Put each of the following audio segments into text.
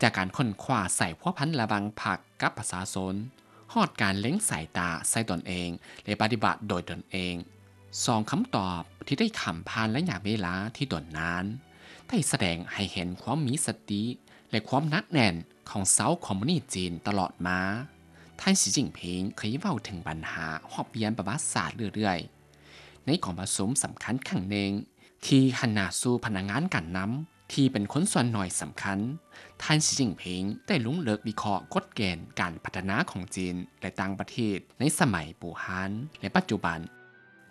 ຈາກການຄົ້ນຄວ້າສາຍພົວພັນລະຫວ່າງພັກກັບປະຊາຊົນ, ຮອດການເລັງສາຍຕາໃສ່ຕົນເອງ ແລະ ປະຕິບັດໂດຍຕົນເອງ, ສອງຄຳຕອບທີ່ໄດ້ຂ້າມຜ່ານໄລຍະເວລາທີ່ດົນນານ ໄດ້ສະແດງໃຫ້ເຫັນຄວາມມີສະຕິ ແລະ ຄວາມໜັກແໜ້ນຂອງຊາວຄອມມູນິດຈີນຕະຫຼອດມາ. ທ່ານ ສີ ຈິ້ນຜິງ ເຄີຍເວົ້າເຖິງບັນຫາຮອບປ່ຽນປະຫວັດສາດເລື້ອຍໆ. ໃນກອງປະຊຸມສຳຄັນຄັ້ງໜຶ່ງ ທີ່ຫັນໜ້າສູ່ພະນັກງານການນຳທີ່ເປັນຄົນສ່ວນໜ້ອຍສຳຄັນ, ທ່ານ ສີ ຈິ້ນຜິງ ໄດ້ລົງເລິກວິເຄາະກົດເກນການພັດທະນາຂອງຈີນ ແລະ ຕ່າງປະເທດໃນສະໄໝປູຮານ ແລະ ປັດຈຸບັນ,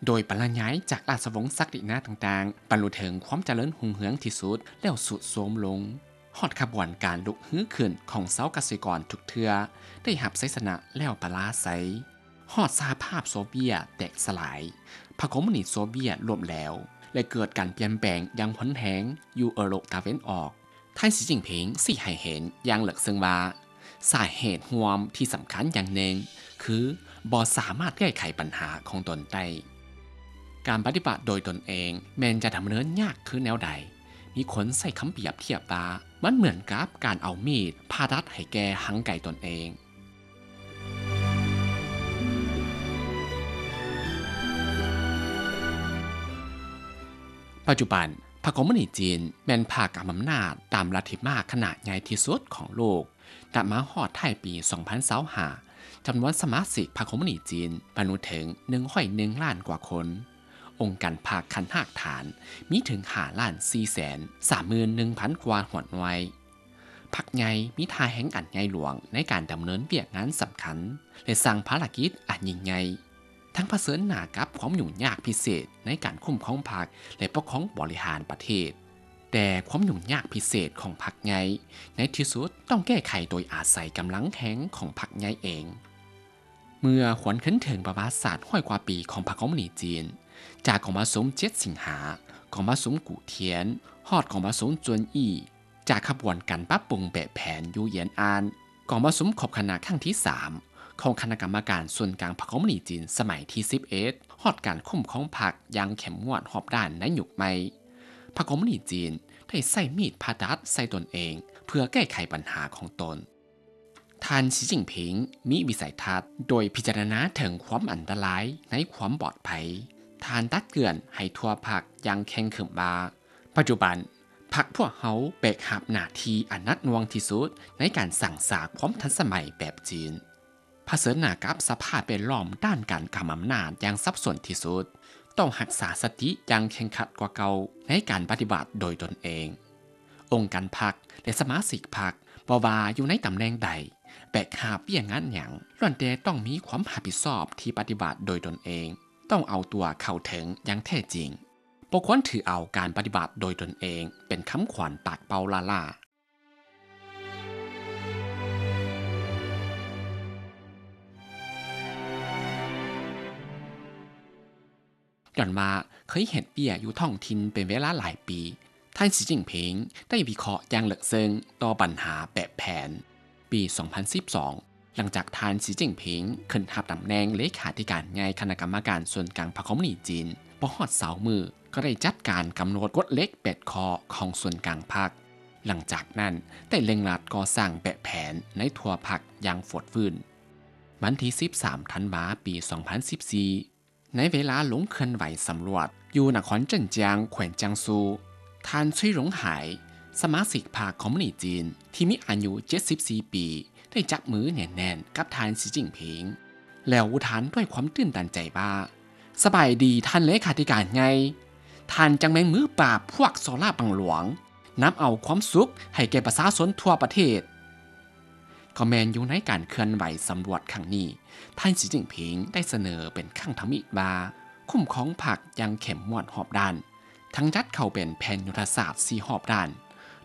ໂດຍບັນລະຍາຍຈາກລາຊະວົງສັກດິນາຕ່າງໆ ບັນລຸເຖິງຄວາມຈະເລີນຮຸ່ງເຮືອງທີ່ສຸດ ແລ້ວຊຸດໂຊມລົງ, ຮອດຂະບວນການລຸກຮືຂຶ້ນຂອງຊາວກະສິກອນທຸກເທື່ອ ໄດ້ຮັບໄຊຊະນະແລ້ວປະລາໄຊ. ຮອດສະຫະພາບໂຊວຽດແຕກສະຫຼາຍ, ພັກຄອມມູນິດໂຊວຽດລົ້ມແຫຼວ ແລະ ເກີດການປ່ຽນແປງຢ່າງຮຸນແຮງຢູ່ເອີຣົບຕາເວັນອອກ. ທ່ານ ສີ ຈິ້ນຜິງ ຊີ້ໃຫ້ເຫັນຢ່າງເລິກເຊິ່ງວ່າ ສາເຫດຮ່ວມທີ່ສຳຄັນຢ່າງໜຶ່ງຄືບໍ່ສາມາດແກ້ໄຂບັນຫາຂອງຕົນໄດ້. ການປະຕິບັດໂດຍຕົນເອງແມ່ນຈະດຳເນີນຍາກຄືແນວໃດ? ມີຄົນໃຊ້ຄຳປຽບທຽບວ່າ ມັນເໝືອນກັບການເອົາມີດຜ່າຕັດໃຫ້ແກ່ຮັງໄກຕົນເອງ. ປັດຈຸບັນ, ພັກຄອມມູນິດຈີນແມ່ນພັກກຳອຳນາດຕາມລັດທິມາກຂະໜາດໃຫຍ່ທີ່ສຸດຂອງໂລກ. ນັບມາຮອດທ້າຍປີສອງພັນຊາວຫ້າ ຈຳນວນສະມາຊິກພັກຄອມມູນິດຈີນບັນລຸເຖິງໜຶ່ງຮ້ອຍໜຶ່ງລ້ານກວ່າຄົນ. ອົງການພັກຂັ້ນຮາກຖານມີເຖິງຫ້າລ້ານສີ່ແສນສາມໝື່ນໜຶ່ງພັນກວ່າຫົວໜ່ວຍ. ພັກໃຫຍ່ມີທ່າແຮງອັນໃຫຍ່ຫຼວງໃນການດຳເນີນວຽກງານສຳຄັນ ແລະ ສ້າງພາລະກິດອັນຍິ່ງໃຫຍ່, ທັງຜະເຊີນໜ້າກັບຄວາມຫຍຸ້ງຍາກພິເສດໃນການຄຸ້ມຄອງພັກ ແລະ ປົກຄອງບໍລິຫານປະເທດ. ແຕ່ຄວາມຫຍຸ້ງຍາກພິເສດຂອງພັກໃຫຍ່ໃນທີ່ສຸດຕ້ອງແກ້ໄຂໂດຍອາໄສກຳລັງແຮງຂອງພັກໃຫຍ່ເອງ. ເມື່ອຫວນຄືນເຖິງປະຫວັດສາດຮ້ອຍກວ່າປີຂອງພັກຄອມມູນິດຈີນ, ຈາກກອງປະຊຸມເຈັດສິງຫາ, ກອງປະຊຸມກູ່ທຽນ, ຮອດກອງປະຊຸມຈວນອີ່, ຈາກຂະບວນການປັບປຸງແບບແຜນຢູ່ຫຍຽນອານ, ກອງປະຊຸມຄົບຄະນະຄັ້ງທີສາມຂອງຄະນະກຳມະການສູນກາງພັກຄອມມູນິດຈີນສະໄໝທີສິບເອັດ, ຮອດການຄຸ້ມຄອງພັກຢ່າງເຂັ້ມງວດຮອບດ້ານໃນຍຸກໃໝ່, ພັກຄອມມູນິດຈີນໄດ້ໃຊ້ມີດຜ່າຕັດໃສ່ຕົນເອງເພື່ອແກ້ໄຂບັນຫາຂອງຕົນ. ທ່ານ ສີ ຈິ້ນຜິງ ມີວິໄສທັດໂດຍພິຈາລະນາເຖິງຄວາມອັນຕະລາຍໃນຄວາມປອດໄພ. ທ່ານຕັກເຕືອນໃຫ້ທົ່ວພັກຢ່າງເຄັ່ງຂຶມວ່າ, ປັດຈຸບັນ, ພັກພວກເຮົາແບກຫາບໜ້າທີ່ອັນໜັກໜ່ວງທີ່ສຸດໃນການສ້າງສາກຄວາມທັນສະໄໝແບບຈີນ. ຜະເຊີນໜ້າກັບສະພາບແວດລ້ອມດ້ານການກຳອຳນາດຢ່າງສັບສົນທີ່ສຸດ, ຕ້ອງຮັກສາສະຕິຢ່າງເຄັ່ງຄັດກວ່າເກົ່າໃນການປະຕິບັດໂດຍຕົນເອງ. ອົງການພັກ ແລະ ສະມາຊິກພັກ, ບໍ່ວ່າຢູ່ໃນຕຳແໜ່ງໃດ, ແບກຫາບວຽກງານຫຍັງ, ລ້ວນແຕ່ຕ້ອງມີຄວາມຮັບຜິດຊອບທີ່ປະຕິບັດໂດຍຕົນເອງ, ຕ້ອງເອົາຕົວເຂົ້າເຖິງຢ່າງແທ້ຈິງ. ບໍ່ຄວນຖືເອົາການປະຕິບັດໂດຍຕົນເອງເປັນຄຳຂວັນປາກເປົ່າລ້າໆ. ຍ້ອນວ່າເຄີຍເຮັດວຽກຢູ່ທ້ອງຖິ່ນເປັນເວລາຫຼາຍປີ, ທ່ານ ສີ ຈິ້ນຜິງ ໄດ້ວິເຄາະຢ່າງເລິກເຊິ່ງຕໍ່ບັນຫາແບບແຜນ. ປີສອງພັນສິບສອງ, ຫຼັງຈາກທ່ານ ສີ ຈິ້ນຜິງ ຂຶ້ນຮັບຕຳແໜ່ງເລຂາທິການໃຫຍ່ຄະນະກຳມະການສູນກາງພັກຄອມມູນິດຈີນ, ບໍ່ຮອດຊາວມື້ ກໍໄດ້ຈັດການກຳນົດກົດເຫຼັກແປດຂໍ້ຂອງສູນກາງພັກ. ຫຼັງຈາກນັ້ນ, ໄດ້ເລັ່ງລັດກໍ່ສ້າງແບບແຜນໃນທົ່ວພັກຢ່າງຟົດຟື້ນ. ວັນທີສິບສາມ ທັນວາ ປີສອງພັນສິບສີ່, ໃນເວລາລົງເຄື່ອນໄຫວສຳຫຼວດຢູ່ນະຄອນເຈິນຈຽງ ແຂວງຈຽງຊູ, ທ່ານ ຊຸຍ ຫຼົງຫາຍ ສະມາຊິກພັກຄອມມູນິດຈີນທີ່ມີອາຍຸເຈັດສິບສີ່ປີ ໄດ້ຈັບມືແໜ້ນໆກັບທ່ານ ສີ ຈິ້ນຜິງ ແລ້ວອຸທານດ້ວຍຄວາມຕື່ນຕັນໃຈວ່າ, ສະບາຍດີທ່ານເລຂາທິການໃຫຍ່, ທ່ານຈັ່ງແມ່ນມືປາບພວກສໍ້ລາດບັງຫຼວງ, ນຳເອົາຄວາມສຸກໃຫ້ແກ່ປະຊາຊົນທົ່ວປະເທດ. ກໍແມ່ນຢູ່ໃນການເຄື່ອນໄຫວສຳຫຼວດຄັ້ງນີ້, ທ່ານ ສີ ຈິ້ນຜິງ ໄດ້ສະເໜີເປັນຄັ້ງທຳອິດວ່າ ຄຸ້ມຄອງພັກຢ່າງເຂັ້ມງວດຮອບດ້ານ, ທັງຈັດເຂົ້າເປັນແຜນຍຸດທະສາດສີ່ຮອບດ້ານ,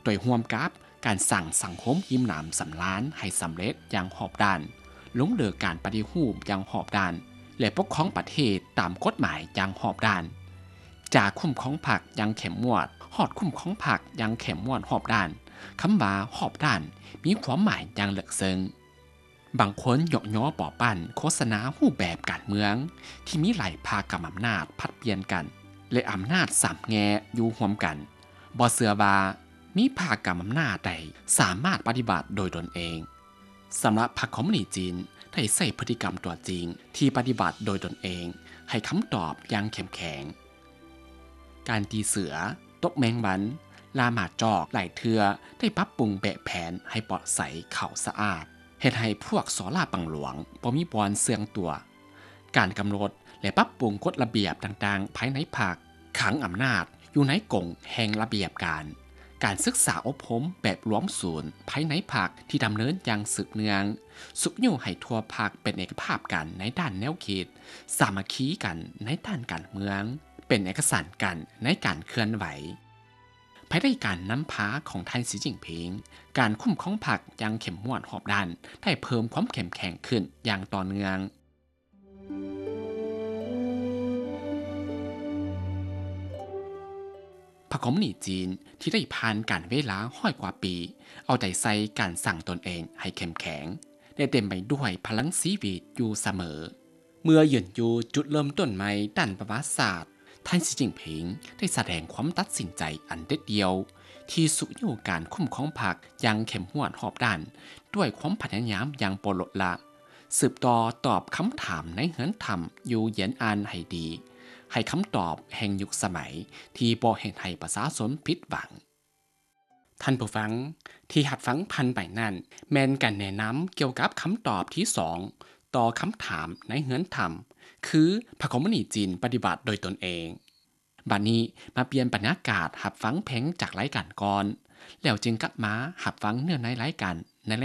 ໂດຍຮ່ວມກັບການສ້າງສັງຄົມອີ່ມໜຳສຳລານໃຫ້ສຳເລັດຢ່າງຮອບດ້ານ, ລົງເລີກການປະຕິຮູບຢ່າງຮອບດ້ານ ແລະ ປົກຄອງປະເທດຕາມກົດໝາຍຢ່າງຮອບດ້ານ. ຈາກຄຸ້ມຄອງພັກຢ່າງເຂັ້ມງວດ ຮອດຄຸ້ມຄອງພັກຢ່າງເຂັ້ມງວດຮອບດ້ານ, ຄຳວ່າຮອບດ້ານມີຄວາມໝາຍຢ່າງເລິກເຊິ່ງ. ບາງຄົນຍົກຍໍປໍ້ປັ້ນໂຄສະນາຮູບແບບການເມືອງທີ່ມີຫຼາຍພັກກຳອຳນາດຜັດປ່ຽນກັນ ແລະ ອຳນາດສາມແງ່ຢູ່ຮ່ວມກັນ. ບໍ່ເຊື່ອວ່າ ມີພາກກຳອຳນາດໃດສາມາດປະຕິບັດໂດຍຕົນເອງ? ສຳລັບພັກຄອມມູນິດຈີນ ໄດ້ໃຊ້ພຶດຕິກຳຕົວຈິງທີ່ປະຕິບັດໂດຍຕົນເອງ ໃຫ້ຄຳຕອບຢ່າງເຂັ້ມແຂງ. ການຕີເສືອ, ຕົກແມງວັນ, ລ່າໝາຈອກ ຫຼາຍເທື່ອໄດ້ປັບປຸງແບບແຜນໃຫ້ປອດໃສ, ຂາວສະອາດ, ເຮັດໃຫ້ພວກສໍ້ລາດບັງຫຼວງບໍ່ມີບ່ອນເຊື່ອງຕົວ. ການກຳນົດ ແລະ ປັບປຸງກົດລະບຽບຕ່າງໆພາຍໃນພັກ, ຂັງອຳນາດຢູ່ໃນກົງແຫ່ງລະບຽບການ, ການສຶກສາອົບຮົມແບບລວມສູນພາຍໃນພັກທີ່ດຳເນີນຢ່າງສືບເນື່ອງ, ຊຸກຍູ້ໃຫ້ທົ່ວພັກເປັນເອກະພາບກັນໃນດ້ານແນວຄິດ, ສາມັກຄີກັນໃນດ້ານການເມືອງ, ເປັນເອກະສັນກັນໃນການເຄື່ອນໄຫວ. ພາຍໃຕ້ການນຳພາຂອງທ່ານ ສີຈິ້ນຜິງ, ການຄຸ້ມຄອງພັກຢ່າງເຂັ້ມງວດຮອບດ້ານ ໄດ້ເພີ່ມຄວາມເຂັ້ມແຂງຂຶ້ນຢ່າງຕໍ່ເນື່ອງ. ພັກຄອມມູນິດຈີນທີ່ໄດ້ຜ່ານການເວລາຮ້ອຍກວ່າປີ ເອົາໃຈໃສ່ການສ້າງຕົນເອງໃຫ້ເຂັ້ມແຂງ ແລະ ເຕັມໄປດ້ວຍພະລັງຊີວິດຢູ່ສະເໝີ. ເມື່ອຢືນຢູ່ຈຸດເລີ່ມຕົ້ນໃໝ່ດ້ານປະຫວັດສາດ, ທ່ານ ສີຈິ້ນຜິງ ໄດ້ສະແດງຄວາມຕັດສິນໃຈອັນເດັດດ່ຽວ ທີ່ຊຸກຍູ້ການຄຸ້ມຄອງພັກຢ່າງເຂັ້ມງວດຮອບດ້ານ ດ້ວຍຄວາມພະຍາຍາມຢ່າງບໍ່ລົດລະ, ສືບຕໍ່ຕອບຄຳຖາມໃນເຮືອນຖ້ຳຢູ່ຢຽນອານໃຫ້ດີ, ໃຫ້ຄຳຕອບແຫ່ງຍຸກສະໄໝທີ່ບໍ່ເຮັດໃຫ້ປະຊາຊົນຜິດຫວັງ. ທ່ານຜູ້ຟັງທີ່ຮັບຟັງຜ່ານໄປນັ້ນ ແມ່ນການແນະນຳກ່ຽວກັບຄຳຕອບທີສອງ ຕໍ່ຄຳຖາມໃນເຮືອນຖ້ຳ ຄື ພັກຄອມມູນິດຈີນປະຕິບັດໂດຍຕົນເອງ. ບັດນີ້ມາປ່ຽນບັນຍາກາດຮັບຟັງເພງຈາກລາຍການກ່ອນ, ແລ້ວຈຶ່ງກັບມາຮັບຟັງເນື້ອໃນລາຍການ